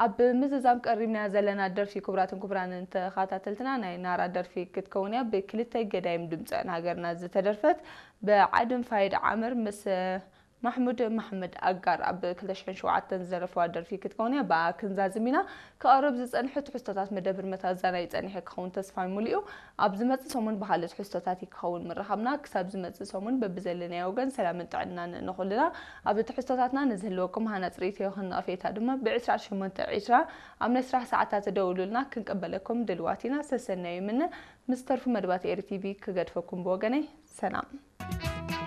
ኣብ ምዝዛም ቀሪብና ዘለና ደርፊ ክቡራትን ክቡራንን ተኸታተልትና ናይ ናራ ደርፊ ክትከውን እያ። ብክልተ ገዳይም ድምፃውያን ሃገርና ዝተደርፈት ብዓድን ፋይድ ዓመር ምስ ማሕሙድ መሓመድ ኣጋር ኣብ ክልተ ሽሕን ሸውዓተን ዝደረፍዋ ደርፊ ክትከውን እያ። ብኣ ክንዛዝም ኢና። ክቐርብ ዝጸንሐ ትሕዝቶታት መደብር መታዛናይ ጸኒሐ ክኸውን ተስፋ ሙሉ እዩ። ኣብ ዝመጽእ ሰሙን ብኻልእ ትሕዝቶታት ክኸውን ምርኻብና። ክሳብ ዝመጽእ ሰሙን በብዘለናዮ ወገን ሰላምን ጥዕናን ንኹልና። ኣብ ትሕዝቶታትና ንዝህልወኩም ሃናጽ ርእይቶ ይኹን ነቐፌታ ድማ ብ ዕስራን ሸሞንተን ዕስራ ኣብ ናይ ስራሕ ሰዓታት ደውሉልና፣ ክንቀበለኩም ድልዋት ኢና። ሰሰናዩ ይምነ። ምስ ተርፉ መደባት ኤሪ ቲቪ ክገድፈኩም ብወገነይ ሰላም።